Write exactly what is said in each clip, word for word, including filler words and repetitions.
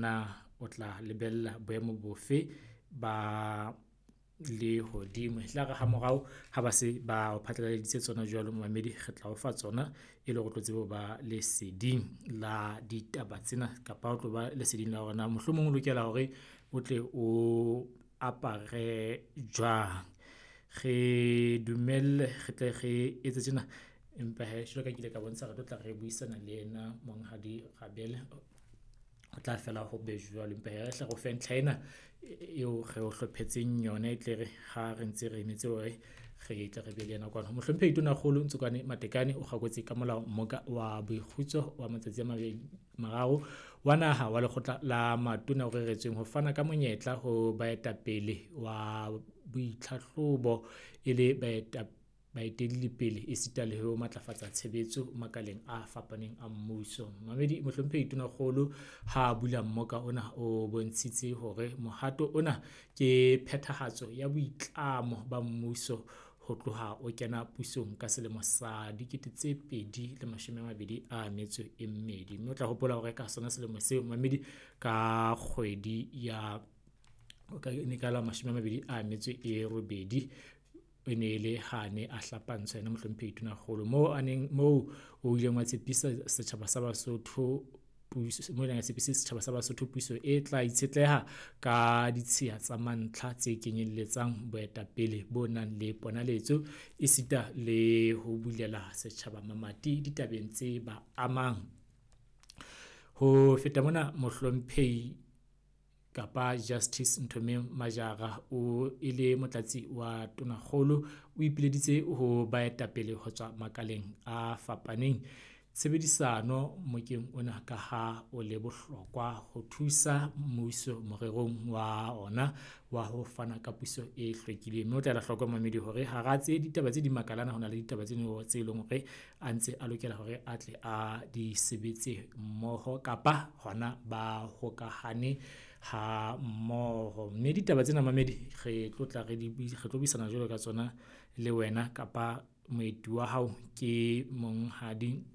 Na o tla lebella boemo bofe ba lehodimo? E tla re ha morao ha ba se ba o phatlaladitse tsona jwalo, momamedi, re tla o fa tsona e le hore o tlo tsebe ho ba leseding la ditaba tsena, kapa o tlo ba leseding la hore na mohlomong o lokela hore o tle o apare jwang. Re dumelle re tle re etse tjena, empa hee jwalo ka ha ke ile ka bontsha, re tlo tla re buisana le yena Monghadi Rabele. Ho tla fela ho be jwalo, empa hee re hle re o fe ntlha ena eo re o hlophetseng yona. E tle re ha re ntse re emetse hore re tle re be le yena kwano. Mohlomphehi Tonakgolo Ntsokoane Matekane o kgakotse ka molao mmoka wa boikgutso wa matsatsi a mabedi mararo wa naha wa lekgotla la matona o reretsweng ho fana ka monyetla ho baetapele wa boitlhahlobo e le baeta baetelli esita le ho matlafatsa tshebetso makaleng a fapaneng a mmuso. Mamedi Mohlomphehi Tonakgolo ha bula mmoka ona o bontshitse hore mohato ona ke phethahatso ya boitlamo ba mmuso ho tloha o kena pusong ka selemo sa dikete tse pedi le mashome a mabedi a metso e mmedi. Mme o tla hopola hore ka sona selemo seo mamedi ka kgwedi ya ne ka la mashome a mabedi a metso e robedi e ne le hane a hlapantshwa yena Mohlomphehi Tonakgolo. Moo a neng moo o ileng wa tshepisa setjhaba sa Basotho puso mo ileng a tshepisa setjhaba sa Basotho puso e tla itshetleha ka ditshiya tsa mantlha tse kenyelletsang boetapele bo nang le ponaletso esita le ho bulela setjhaba mamati ditabeng tse ba amang. Ho feta mona Mohlomphehi kapa Justice Nthomeng Majara o e le motlatsi wa Tonakgolo o ipileditse ho baetapele ho tswa makaleng a fapaneng tshebedisano mokeng ona ka ha o le bohlokwa ho thusa mmuso morerong wa ona wa ho fana ka puso e hlwekileng. Mme o tla ela hloko mamedi hore hara tse ditaba tse di makalana ho na le ditaba tse tse leng hore a ntse a lokela hore a tle a di sebetse mmoho kapa hona ba hokahane ha mmoho. Mme ditaba tsena mamedi re tlo tla re di re tlo buisana jwalo ka tsona le wena kapa moeti wa hao ke Monghadi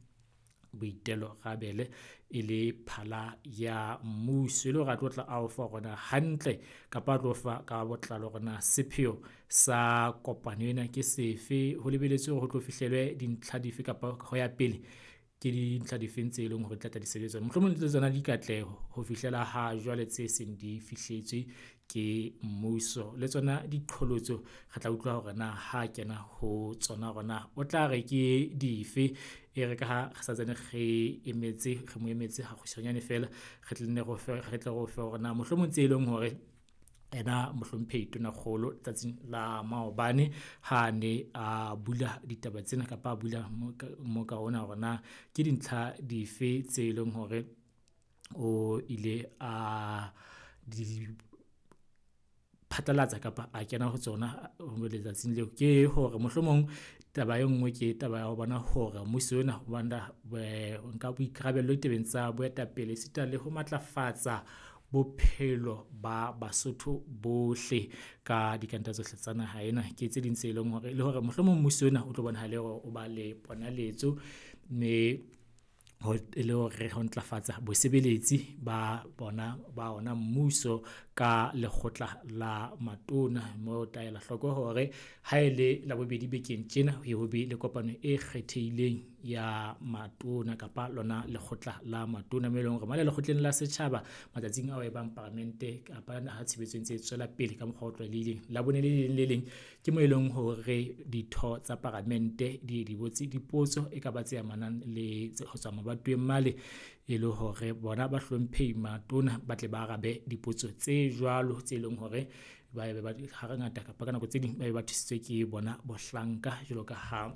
Boitelo Rabele e le phala ya mmuso. E le hore a tlo tla a o fa hore na hantle kapa a tlo fa ka botlalo hore na sepheo sa kopano ena ke sefe, ho lebelletswe hore ho tlo fihlelwe dintlha dife kapa ho ya pele ke dintlha difeng tse leng hore di tla tla di sebetswa. Mohlomong le tsona dikatleho ho fihlela ha jwale tse seng di fihletswe ke mmuso, le tsona diqholotso re tla utlwa hore na ha kena ho tsona hore na o tla re ke dife. E re ka ha re santsane re emetse re mo emetse ha kgutshwanyane feela re tle nne re o fe re tle re o fe hore na mohlomong tse leng hore ena Mohlomphehi Tonakgolo tsatsing la maobane ha ne a bula ditaba tsena kapa a bula mmoka ona hore na ke dintlha dife tse leng hore o ile a di phatlalatsa kapa a kena ho tsona letsatsing leo. Ke hore mohlomong taba e nngwe ke taba ya ho bona hore mmuso ona o banda nka boikarabello ditabeng tsa boetapele esita le ho matlafatsa bophelo ba Basotho bohle ka dikantle tsohle tsa naha ena. Ke tse ding tse leng hore le hore mohlomong mmuso ona o tlo bonahale hore o ba le ponaletso, mme ho e le hore ho ntlafatsa bosebeletsi ba bona ba ona mmuso ka lekgotla la matona. Moo o tla ela hloko hore ha e le Labobedi bekeng tjena ho ye ho be le kopano e kgethehileng ya matona kapa lona lekgotla la matona. Moo e leng hore mane lekgotleng la setjhaba matsatsing ao e bang paramente kapa ha tshebetso e ntse e tswela pele ka mokgwa o tlwaelehileng. Labone le leng le leng ke moo e leng hore ditho tsa paramente di di botse dipotso e ka ba tse amanang le ho tswa mabatoweng male e le hore bona bahlomphehi matona ba tle ba arabe dipotso tse jwalo tse leng hore ba be ba ha ngata kapa ka nako tse ding ba be ba thusitswe ke bona bohlanka jwalo ka ha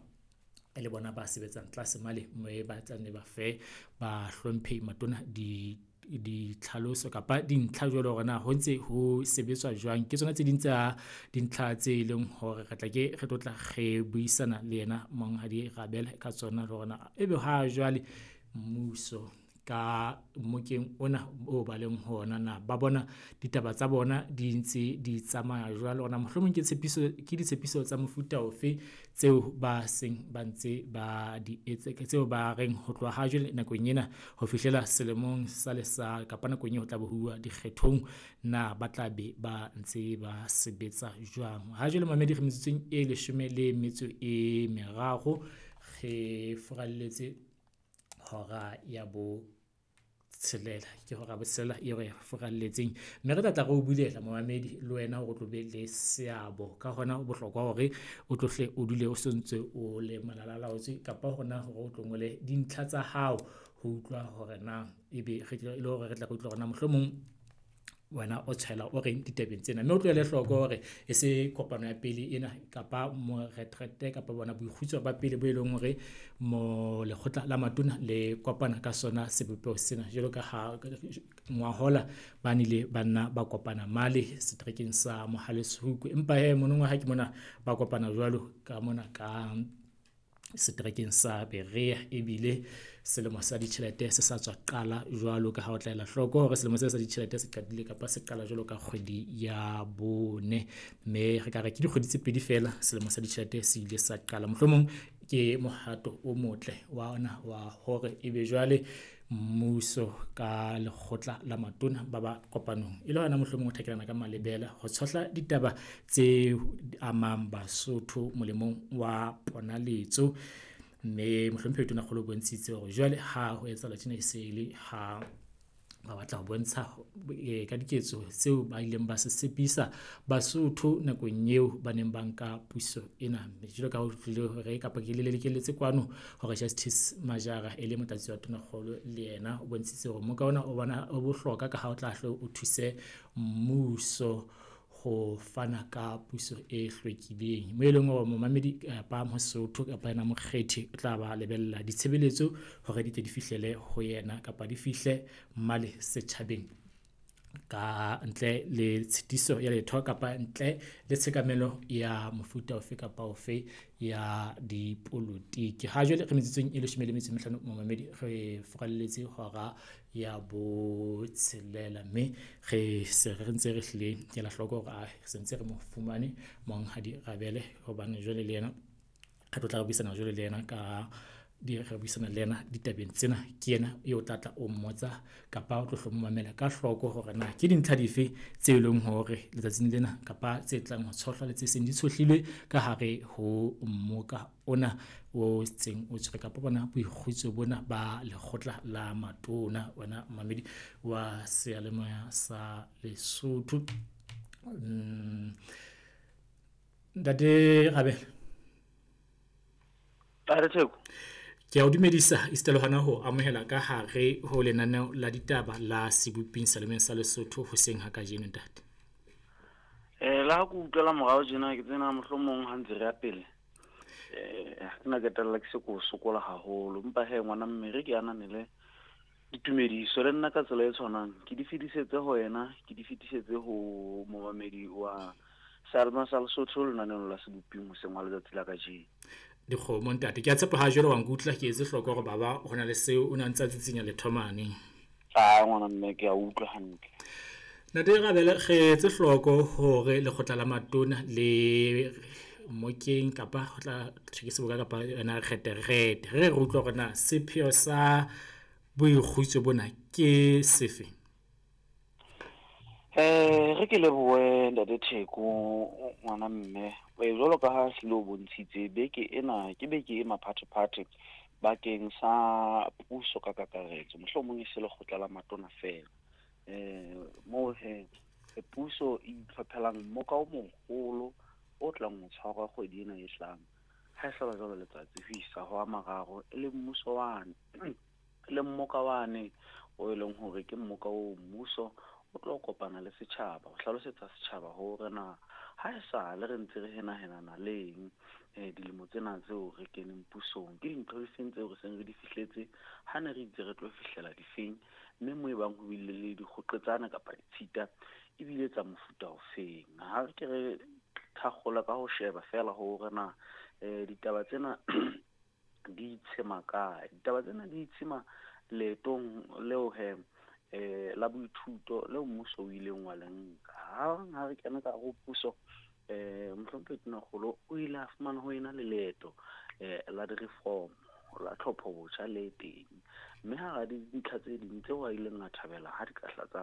e le bona ba sebetsang tlase male mme ba tla nne ba fe bahlomphehi matona di ditlhaloso kapa dintlha jwalo hore na ho ntse ho sebetswa jwang. Ke tsona tse ding tsa dintlha tse leng hore re tla ke re tlo tla re buisana le yena Monghadi Rabele ka tsona le hore na ebe ha jwale mmuso ka mmokeng ona o ba leng ho ona, na ba bona ditaba tsa bona di ntse di tsamaya jwalo, na mohlomong ke tshepiso ke ditshepiso tsa mofuta ofe tseo ba seng ba ntse ba di etse, tseo ba reng ho tloha ha jwale nakong ena ho fihlela selemong sa le sa kapa nakong eo ho tla be ho uwa dikgethong, na ba tla be ba ntse ba sebetsa jwang. Ha jwale mamedi re metsotsong e leshome le metso e meraro, re furalletse hora ya bo tshelela, ke hora botshelela eo re furalletseng, mme re tla tla re o bulela momamedi le wena hore o tlo be le seabo. Ka hona ho bohlokwa hore o tlo hle o dule o sontso o le malalalaotswe, kapa hona hore o tlo ngole dintlha tsa hao ho utlwa hore na ebe re le hore re tla re utlwa hore na mohlomong wena o tshwela o reng ditabeng tsena. Mme o tlohele hloko hore e se kopano ya pele ena kapa moretrethe kapa bona boikgutso ba pele bo e leng hore mo lekgotla la matona le kopana ka sona sebopeho sena. Jwalo ka ha ngwahola ba nile ba nna ba kopana male seterekeng sa Mohale's Hoek, empa hee monongwaha ke mona ba kopana jwalo ka mona ka seterekeng sa Berea, ebile selemo sa ditjhelete se sa tswa qala jwalo ka ha o tla ela hloko hore selemo sena sa ditjhelete se qadile kapa se qala jwalo ka kgwedi ya bone, mme re ka re ke dikgwedi tse pedi feela selemo sa ditjhelete se ile sa qala. Mohlomong ke mohato o motle wa ona wa hore ebe jwale mmuso ka lekgotla la matona ba ba kopanong e le hona mohlomong ho thakelana ka malebela ho tshohla ditaba tse amang Basotho molemong wa ponaletso. Mme mohlomphehi Tonakgolo o bontshitse hore jwale ha ho etsahala tjena e se le ha ba batla ho bontsha ka diketso tseo ba ileng ba se tshepisa Basotho nakong eo ba neng ba nka puso ena. Jwalo ka ha o tlile hore kapa ke le lekelletse kwano hore Justice Majara e le motlatsi wa Tonakgolo le yena o bontshitse hore mmoka ona o bona o bohlokwa ka ha o tla hle o thuse mmuso ho fana ka puso e hlwekileng, mo e leng hore momamedi kapa Mosotho kapa yena mokgethi o tla ba lebella ditshebeletso hore di tle di fihlele ho yena kapa di fihle male setjhabeng ka ntle le tshitiso ya letho kapa ntle le tshekamelo ya mofuta ofe kapa ofe ya dipolotiki. Ha jwale re metsotsong e leshome le metso e mehlano momamedi, re furalletse hora ya botshelela, mme re se re ntse re hlile ke ela hloko hore se ntse re mo fumane Monghadi Rabele, hobane jwale le yena re tlo tla re buisana jwale le yena ka di re buisana le yena ditabeng tsena. Ke yena eo o tla tla o mmotsa kapa o tlo hlo mamela ka hloko hore na ke dintlha dife tse leng hore letsatsing lena kapa tse tlang ho tshohlwa le tse seng di tshohlilwe ka hare ho mmoka ona o seng o tshwere kapa bona boikgutso bona ba lekgotla la matona. Wena mamedi wa seyalemoya sa Lesotho. Ntate Rabele, ke a o dumedisa esita le hona ho amohela ka hare ho lenaneo la ditaba la Seboping Selemeng sa Lesotho hoseng ha kajeno ntate. Eh la go utlwela morao tjena ke tsena mohlomong ha ntse re ya pele. Eh ha ke na ketella ke se ko sokola haholo, empa he ngwana mme re ke ananele ditumediso le nna ka tsela e tshwanang ke di fetisetse ho yena, ke di fetisetse ho momamedi wa Salma sa Lesotho lenaneong la Seboping hoseng wa letsatsi la kajeno. Dikgomo ntate, ke a tshepa ha jwale wa nkutlwa ke etse hloko hore baba ho na le seo o ne a ntse a tsitsinya letho mane. Ah ngwana mme ke a utlwa hantle. Ntate Rabele, re etse hloko hore lekgotla la matona le mokeng kapa ho tla thwe ke seboka kapa yona reterete, re re utlwa hore na sepheo sa boikgutso bona ke sefe? Eh re ke lebohe ntate Theko ngwana mme, jwalo ka ha hlile o bontshitse beke ena ke beke e maphathephathe bakeng sa puso ka kakaretso, mohlomong e se lekgotla la matona feela. Eh moo he puso e itlhophelang mmoka o moholo o tlang ho tshwarwa kgwedi ena e tlang, ha e hlaba jwalo letsatsi ho isa ho a mararo, e le mmuso wane le mmoka wane o e leng hore ke mmoka o mmuso o tlo kopana le setjhaba ho hlalosetsa setjhaba hore na ha e sale re ntse re henahenana leng eh dilemo tsena tseo re keneng pusong, ke dintho difeng tseo re seng re di fihletse, ha ne re itse re tlo fihlela difeng, mme mo e bang ho bile le dikgoqetsana kapa ditshita ebile tsa mofuta ofeng. Ha re ke re thakgola ka ho sheba feela hore na eh ditaba tsena di itshema kae, ditaba tsena di itshema Leetong leo he eh la boithuto leo mmuso o ileng wa le nka. Hang ha re kena ka hare ho puso, eh mohlomphehi Tonakgolo o ile a fumana ho ena le leeto eh la di-reform la tlhopho botjha le teng, mme hara dintlha tse ding tseo a ileng a thabela ha di ka hla tsa